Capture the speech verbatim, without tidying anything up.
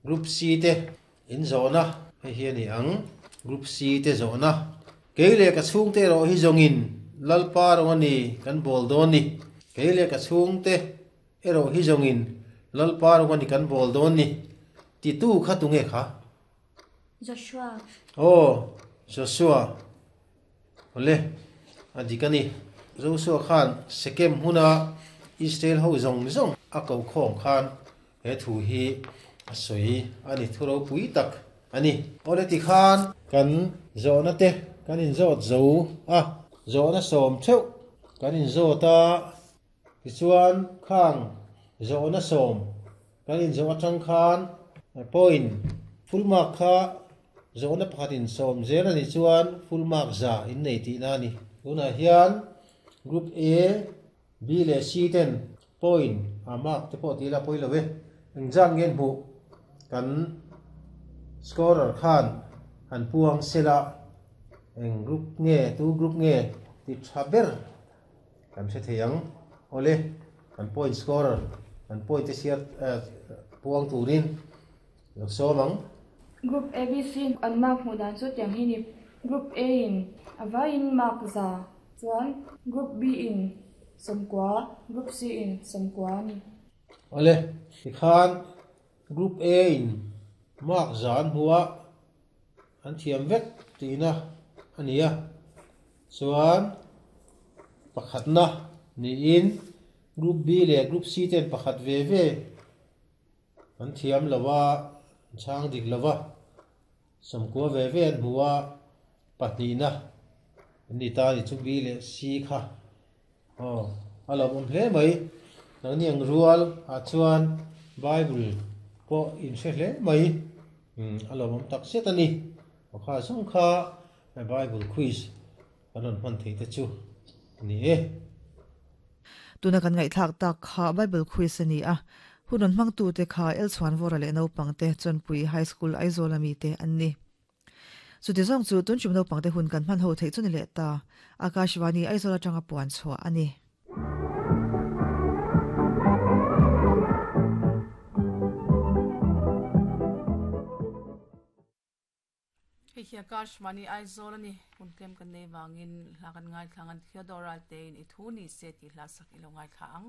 Group C te in zawhna hei hi a ni ang. Group C te zawhna. Kei leh ka chhungte erawh hi zawngin Lalpa rawng a ni kan bawl dawn ni. Kei leh ka chhungte erawh hi zawngin Lalpa rawng a ni kan bawl dawn ni. Titu kha tunge kha? Joshua. Aw, Joshua. Awle, a dik a ni. Joshua khan Sekem hmuna Israel ho zawng zawng a ko khawm khan he thu hi a sawi a ni, thu ropui tak a ni. Awle tikhan kan zawhna te kan inzawt zo a, zawhna sawm theuh kan inzawt a, tichuan khang zawhna sawm kan inzawh atang khan point full mark kha zawhna pakhat in sawm zel a nih chuan full mark za in nei tihna a ni. Tunah hian Group A, B leh C ten point a mark te pawh tih ila pawi lo e. Engzat nge an hmuh kan scorer khan han puang sela eng group nge tu group nge ti tha ber kan hre thei ang. Awle kan point scorer kan point te chhiar puang turin lo sawm ang. Group A B C an mark hmuh dan chu tiang hi ni. Group A in a vaiin mark za chuan Group B in sawmkua, Group C in sawmkua a ni. Awle, tikhan Group A in mark za an hmu a, an thiam vek tihna a ni a. Chuan pakhatna niin Group B leh Group C ten pakhat ve ve an thiam lo a, an chhang dik lo va, sawmkua ve ve an hmu a, pahnihna an ni ta a ni chu B leh C kha. Aw, a lawmawm hle mai. Nangni ang rual ah chuan Bible pawh in hre hle mai. Umm, a lawmawm tak zet a ni. Aw kha zawng kha Bible quiz kan rawn hman thei te chu a ni e. Tuna kan ngaihthlak tak kha Bible quiz a ni a, hun rawn hmangtute kha Elchhuanvawra leh naupangte Chawnpui High School Aizawl ami te an ni. Chuti zawng chu tun tum naupangte hun kan hman ho theih chu ni leh ta. Akashvani Aizawl atanga puan chhuah a ni. Hei hi Akashvani Aizawl a ni. Hun tlem kan nei vangin hla kan ngaithla ang. Theodore Ralte in i thu ni se tih hla sak i lo ngaithla ang.